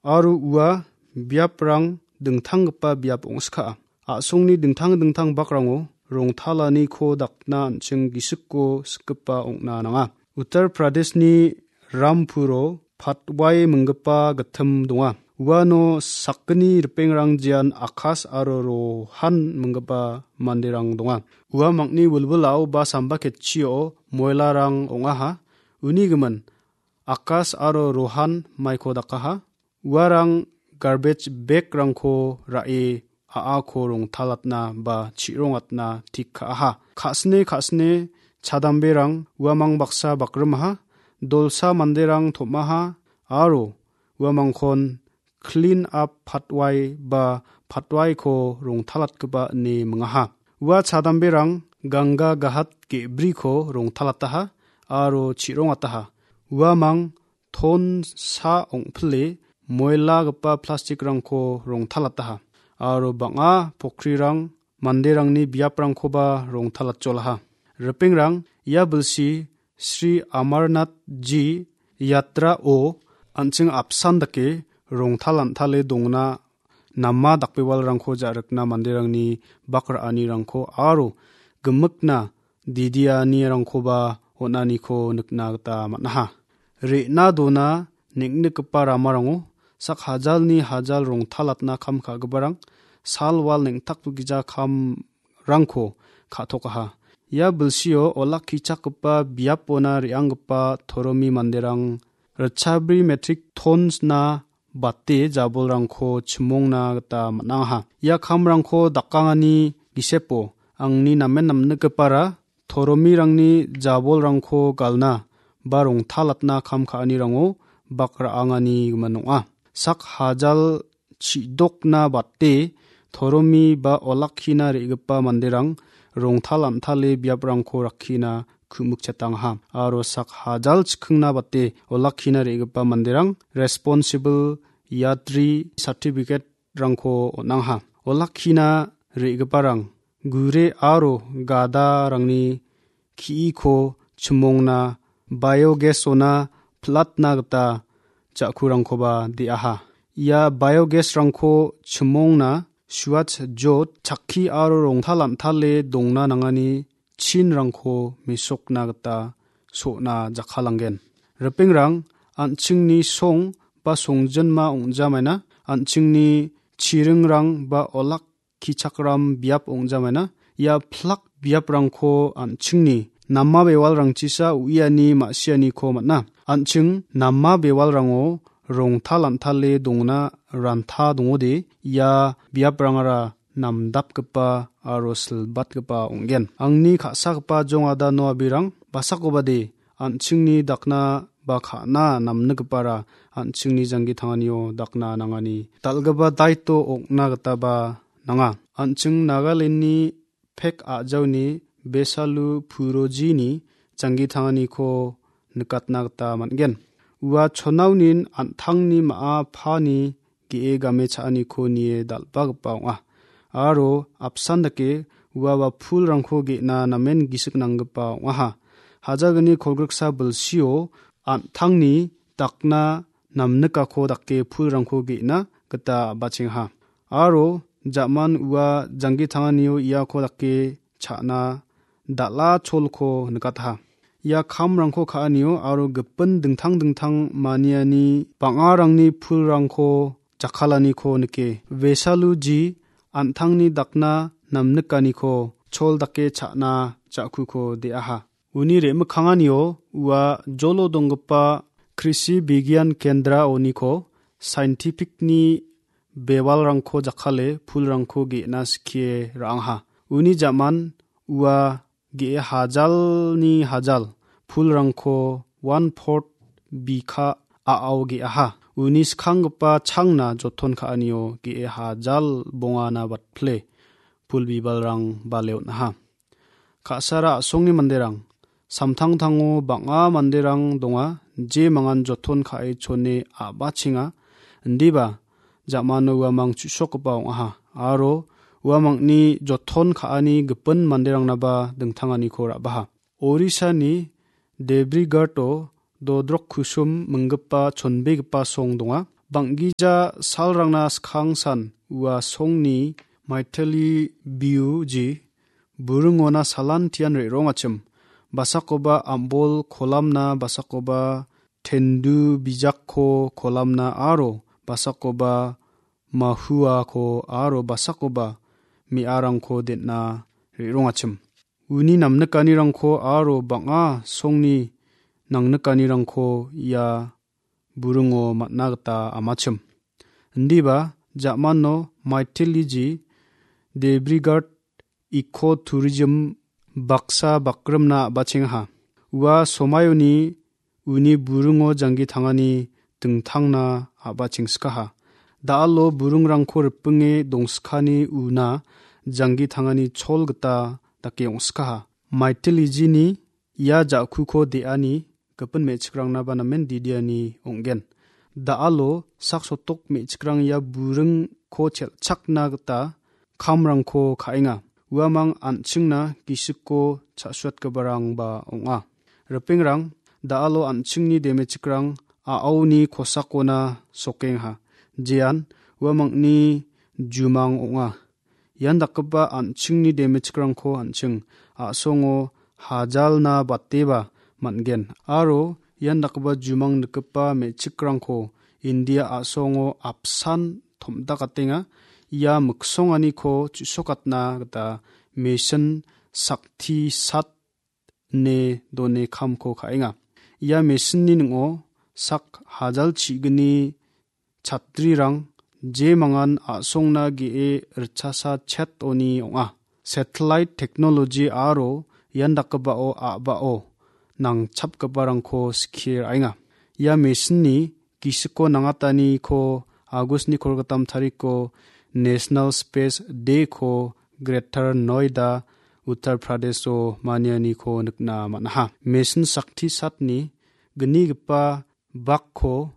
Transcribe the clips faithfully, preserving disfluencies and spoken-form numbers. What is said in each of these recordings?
aro ua biaprang dingtanggipa biap ong·skaa. A·songni dingtang dingtang bakrango rongtalaniko dakna an·ching gisiko sikgipa ong·na nanga. Uttar Pradeshni Rampuro Patwai minggipa gittim donga. Uano sakgni ripengrang jian Akash aro Rohan minggipa manderang donga. Ua mangni wilwilao ba samba ketchio moilarang ong·aha. Uni gimin Akash aro Rohan maiko dakaha. Uarang garbage bag-rangko ra·e a·ako rongtalatna ba chi·rongatna tik ka·aha. Ka·sine ka·sine chadamberang uamang baksa bakrimaha, dolsa manderang tom·aha aro uamangkon clean up Patwai ba Patwaiko rongtalatgipa ine mingaha. Ua chadamberang Ganga Ghat ge·briko rongtalataha aro chi·rongataha. Uamang ton sa ong·pile moilagipa plastikrangko rongtalataha aro bang·a pokrirang manderangni biaprangkoba rongtalatjolaha. Ripengrang ia bilsi Sri Amarnath Ji Yatrao an·ching apsan dake rongtalantale dongna nama dakbewalrangko ja·rikna manderangni bak ra·anirangko aro gimikna didianirangkoba on·aniko nikna gita man·aha. Re·na dona neng·nikgipa ramarango sak hajalni hajal rongtalatna kam ka·giparang sal wal neng·takgija kamrangko ka·tokaha. Ia bilsio olakkichakgipa biapona re·anggipa toromi manderang ritchabri metrik tonsna bate jabolrangko chimongna gita man·angaha. Ia kamrangko dakangani gisepo angni namen namnikgipara toromirangni jabolrangko galna ba rongtalatna kam ka·anirango bak ra·angani gimin ong·a. Sak hajal chi·dokna bate toromi ba olakkina re·gipa manderang rongtalantale biaprangko rakkina ku·mikchatangaha aro sak hajal chikingna bate olakkina re·gipa manderang responsible yatri certificate-rangko on·angaha. Olakkina re·giparang gure aro gadarangni ki·iko chimongna biogas-ona platna gita ja·kurangkoba de·aha. Ia biogas-rangko chimongna suat jot chakki aro rongtalantale dongna nangani chinrangko mesokna gita so·na jakkalanggen. Ripengrang, an·chingni song ba songjinma ong·jamaina, an·chingni chiringrang ba olakkichakram biap ong·jamaina, ia plak biaprangko an·chingni nama bewalrangchisa uiani ma·sianiko man·a. An·ching nama bewalrango rongtalantale dongna ranta dongode, ia biaprangara namdapgipa aro silbatgipa ong·gen. Angni ka·sagipa jongada no abirang, basakobade an·chingni dakna ba ka·na namnigipara an·chingni janggi tanganio dakna nangani dal·gipa daito ong·na gitaba nanga. An·ching Nagalandni pek a·jaoni Besalu Purojini janggi tanganiko nikatna gita man·gen. Ua chonaunin an·tangni ma·a pani ge·e game cha·aniko nie dal·bagipa ong·a. Aro apsan dake uaba pulrangko ge·na namen gisik nanggipa ong·aha. Hajalgni kolgriksa bilsio an·tangni dakna namnikako dake pulrangko ge·na gita a·bachengaha. Aro ja·man ua janggi tanganio iako dake cha·na dal·a cholko nikataha. Ia kamrangko ka·anio aro gipin dingtang dingtang maniani bang·arangni pulrangko jakkalaniko nike. Vesaluji an·tangni dakna namnikaniko chol dake cha·na ja·kuko de·aha. Uni re·mikkanganio ua jolo donggipa Krishi Bigiyan Kendraoniko saintifikni bewalrangko jakkale pulrangko ge·na skie ra·angha. Uni ja·man ua ge·e hajalni hajal pulrangko one fourth bikha a·ao ge·aha. Uni skanggipa changna joton ka·anio ge·e hajal bongana batpile pul bibalrang bale on·aha. Ka·sara a·songni manderang, samtangtango bang·a manderang donga, je mangan joton ka·e chone a·bachenga, indiba ja·mano uamang chu·sokgipa ong·aha, aro uamangni joton ka·ani gipin manderangnaba dingtanganiko ra·baha. Orisani Debrigarto Dodrok Kusum minggipa chonbegipa song donga. Bang·gija salrangna skangsan ua songni maiteli biuji buringona salantian re·rongachim. Basakoba am·bol kolamna, basakoba tendu bijakko kolamna aro basakoba mahuako aro basakoba me·arangko den·a re·rongachim. Uni namnikanirangko aro bang·a songni nangnikanirangko ia buringo man·a gita amachim. Indiba ja·mano maiteliji Debrigard Eco Tourism baksa bakrimna a·bachengaha. Ua somaiyoni uni buringo janggi tangani dingtangna a·bachengsikaha. Da·alo buringrangko ripinge dongskani una janggi tangani chol gita dake ong·sikaha. Maiteljini ia ja·kuko de·ani gipin me·chikrangna ba namen didiani ong·gen. Da·alo sak sotok me·chikrang ia buringko chelchakna gita kamrangko ka·enga. Uamang an·chingna gisikko cha·suatgiparangba ong·a. Ripengrang, da·alo an·chingni demechikrang a·aoni kosakona sokenga. Jean, uamangni jumang ong·a. Ian dakgipa an·chingni demechikrangko an·ching a·songo hajalna bateba man·gen. Aro ian dakgipa jumang nikgipa me·chikrangko India a·songo apsan tom·dakatenga. Ia miksonganiko chu·sokatna gita mesin sakti sat ine done kamko ka·enga. Ia mesinni ning·o sak hajal chi·gni chatrirang jemangan a·songna ge·e ritchasa chet oni ong·a. Satellite technology aro ian dakgipao a·bao nangchapgiparangko skie ra·enga. Ia mesinni gisiko nangataniko Agustni kolgittam tariko National Space Day-ko Greater Noida, Uttar Pradesh-o manianiko nikna man·aha. Mesin sakti satni gnigipa bakko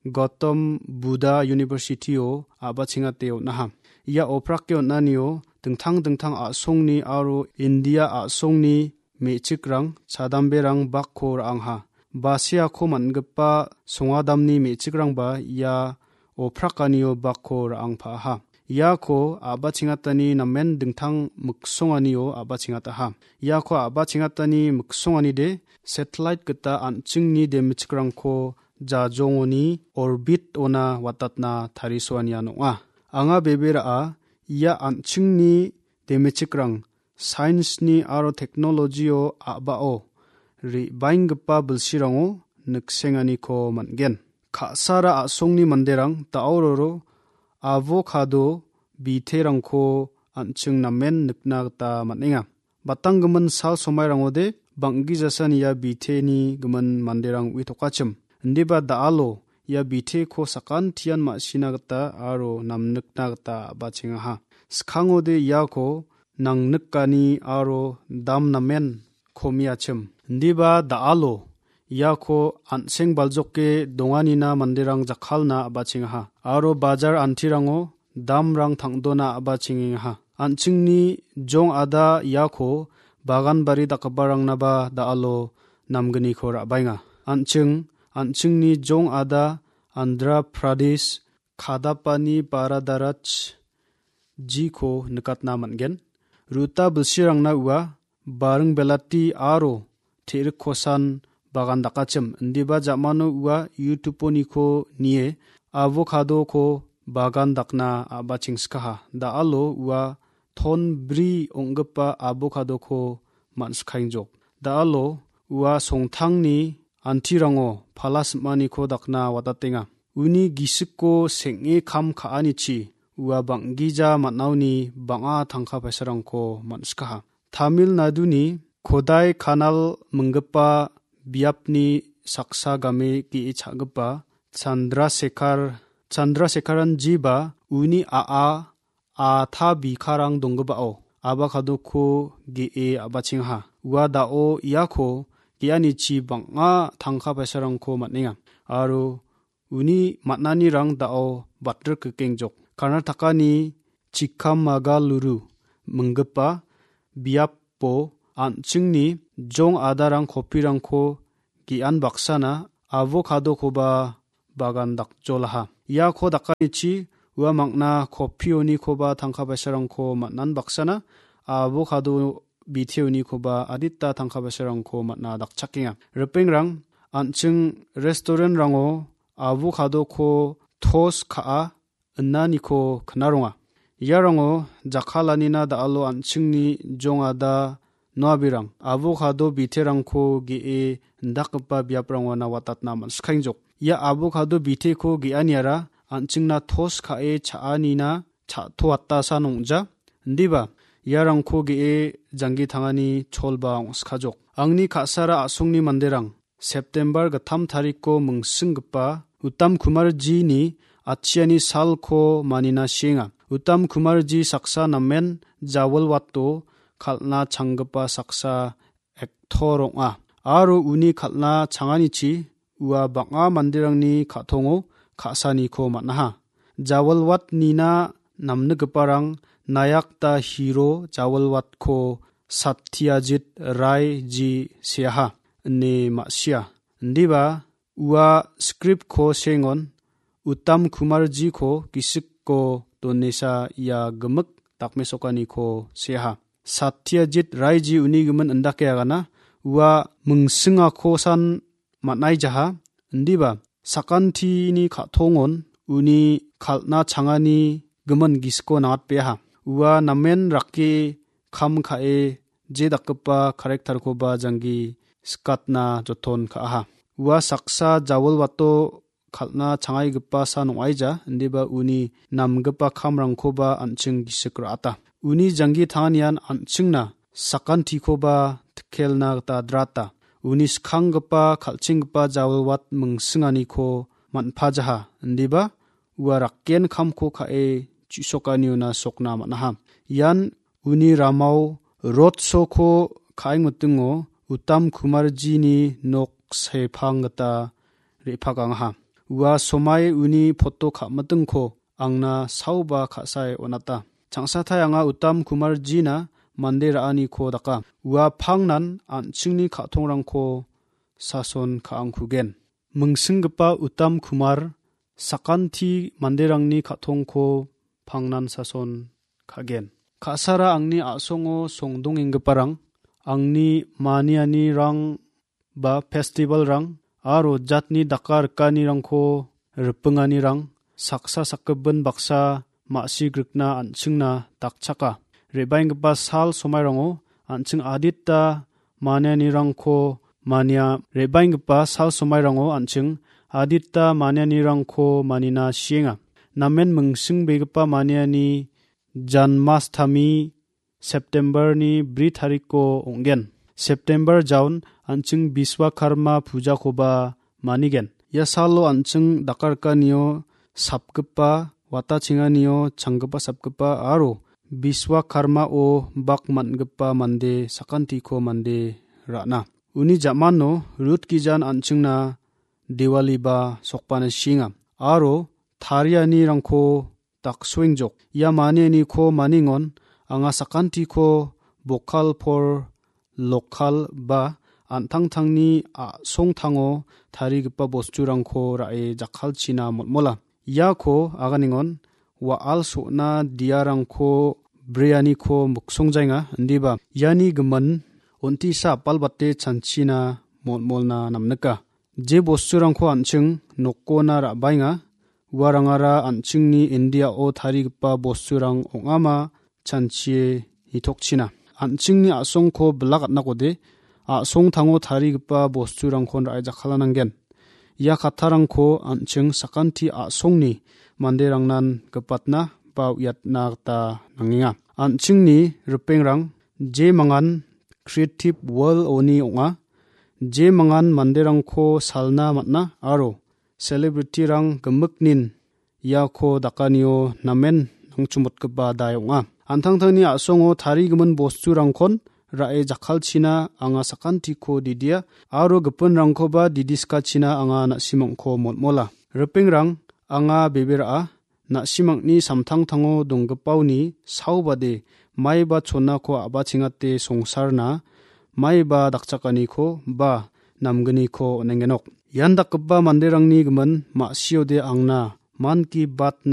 Gautam Buddha University-o a·bachengate on·aha. Ia oprake on·anio dingtang dingtang a·songni aro India a·songni me·chikrang, chadamberang bakko ra·angha. Basiako man·gipa songadamni me·chikrangba ia oprakanio bakko ra·angpa·aha. Iako a·bachengatani namen dingtang miksonganio a·bachengataha. Iako a·bachengatani miksonganide satellite gita an·chingni demechikrangko jajongoni orbit-ona watatna tarisoanian ong·a. Anga bebera·a ia an·chingni demechikrang science-ni aro technology-o a·bao re·baenggipa bilsirango niksenganiko man·gen. Ka·sara a·songni manderang da·ororo avocado biterangko an·ching namen nikna gita man·enga. Batanggimin sal somairangode bang·gijasa nia biteni gimin manderang uitokachim. Indiba da·alo ia biteko sakantian ma·sina gita aro namnikna gita a·bachengaha. Skangode iako nangnikani aro dam namen komiachim. Indiba da·alo iako an·seng baljoke donganina manderang jakkalna a·bachengaha. Aro bajar antirango damrang tang·dona a·bachengengaha. An·chingni jong·ada iako bagan bari dakgiparangna ba da·alo namgniko ra·baenga. An·ching, an·chingni jong·ada Andhra Pradesh, Kadapani Baradaraj jiko nikatna man·gen. Ruta bilsirangna ua baring belati aro te·rik kosan bagan dakachim. Indiba ja·mano ua YouTube-oniko nie avocado-ko bagan dakna a·bachengskaha. Da·alo ua ton bri ong·gipa avocado-ko man·sikaengjok. Da·alo ua songtangni antirango pala sim·aniko dakna watatenga. Uni gisiko seng·e kam ka·anichi ua bang·gija man·aoni bang·a tangka paisarangko man·sikaha. Tamil Naduni Kodai Kanal minggipa biapni saksa game ge·e cha·gipa Chandrasekhar, Chandrasekharanjiba uni a·a a ta bikarang donggipao avocado-ko ge·e a·bachengaha. Ua da·o iako ge·anichi bang·a tangka paisarangko man·enga. Aro uni man·anirang da·o batrik gikengjok. Karnatakani Chikamagaluru minggipa biapo an·chingni jong adarang kopirangko ge·an baksana avocado-koba bagan dakjolaha. Iako dakanichi ua mangna kopionikoba tangka paisarangko man·an baksana avocado biteonikoba adita tangka paisarangko man·a dakchakenga. Ripengrang, an·ching restaurant-rango avocado-ko toast ka·a inaniko knaronga. Iarango jakkalanina da·alo an·chingni jongada noabirang avocado biterangko ge·e indakgipa biaprango nawatatna man·sikaengjok. Ia avocado biteko ge·aniara an·chingna toast ka·e cha·anina cha·toatasan ong·ja. Indiba iarangko ge·e janggi tangani cholba ong·sikajok. Angni ka·sara a·songni manderang September gittam tarikko mingsinggipa Uttam Kumarjini atchiani salko manina sienga. Uttam Kumarji saksa namen jawilwato kal·na changgipa saksa actor ong·a. Aro uni kal·na changanichi ua bang·a manderangni ka·tongo ka·saniko man·aha. Jawilwatnina namnikgiparang Nayakta Hiro Jawilwatko Satyajit Rai ji seaha ine ma·sia. Indiba ua script-ko sengon Uttam Kumarjiko gisikko donesa ia gimik dakmesokaniko seaha. Satyajit Raiji uni gimin indake agana ua mingsingakosan man·aijaha. Indiba sakantini ka·tongon uni kal·na changani gimin gisiko nangatbeaha. Ua namen rake kam ka·e je dakgipa character-koba janggi sikatna joton ka·aha. Ua saksa jawilwato kal·na changaigipa san ong·aija, indiba uni namgipa kamrangkoba an·ching gisik ra·ata. Uni janggi tanganian an·chingna sakantikoba tikelna gita drata. Uni skanggipa kal·chenggipa jawilwat mingsinganiko man·pajaha, indiba ua rakken kamko ka·e chu·sokaniona sokna man·aha. Ian uni ramao road show-ko ka·engmitingo Uttam Kumarjini nok sepang gita re·pakangaha. Ua somai uni poto ka·mitingko angna saoba ka·sae on·ata. Changsatai anga Uttam Kumarjina mande ra·aniko daka. Ua pangnan an·chingni ka·tongrangko sason ka·angkugen. Mingsinggipa Uttam Kumar sakanti manderangni ka·tongko pangnan sason ka·gen. Ka·sara angni a·songo songdongenggiparang, angni manianirang ba festivalrang aro jatni daka rikanirangko ripinganirang saksa sakgipin baksa ma·sigrikna an·chingna dakchaka. Re·baenggipa sal somairango an·ching adita manianirangko mania, re·baenggipa sal somairango an·ching adita manianirangko manina sienga. Namen mingsingbegipa maniani Janmasthami September-ni bri tarikko ong·gen. September jaon an·ching Biswakarma pujakoba manigen. Ia salo an·ching dakarkanio sapgipa, watachenganio changgipa sapgipa aro Biswakarmao bak man·gipa mande sakantiko mande ra·na. Uni ja·mano Rut gijan an·chingna Diwaliba sokbana sienga. Aro tarianirangko daksoengjok. Ia manianiko maningon anga sakantiko bokal por lokal ba an·tangtangni a·songtango tarigipa bosturangko ra·e jakkalchina molmola. Iako aganengon wa·al so·na diarangko breaniko miksongjaenga, indiba iani gimin on·tisa apalbate chanchina molmolna namnika. Je bosturangko an·ching nokona ra·baenga, uarangara an·chingni Indiao tarigipa bosturang ong·ama chanchie nitokchina. An·chingni a·songko bilak atnakode, a·songtango tarigipa bosturangkon ra·e jakkalananggen. Ia kattarangko an·ching sakanti a·songni manderangnan gipatna ba uiatna gita nangenga. An·chingni ripengrang je mangan Creative World-oni ong·a. Je mangan manderangko salna man·a aro celebrity-rang gimiknin iako dakanio namen nangchimotgipa dai ong·a. An·tangtangni a·songo tarigimin bosturangkon ra·e jakkalchina anga sakantiko didia aro gipinrangkoba didiskachina anga na·simangko molmola. Ripengrang, anga bebe ra·a, na·simangni samtangtango donggipaoni saobade maiba chonako a·bachengate songsarna maiba dakchakaniko ba namgniko on·engenok. Ian dakgipa manderangni gimin ma·siode angna Mann Ki Baat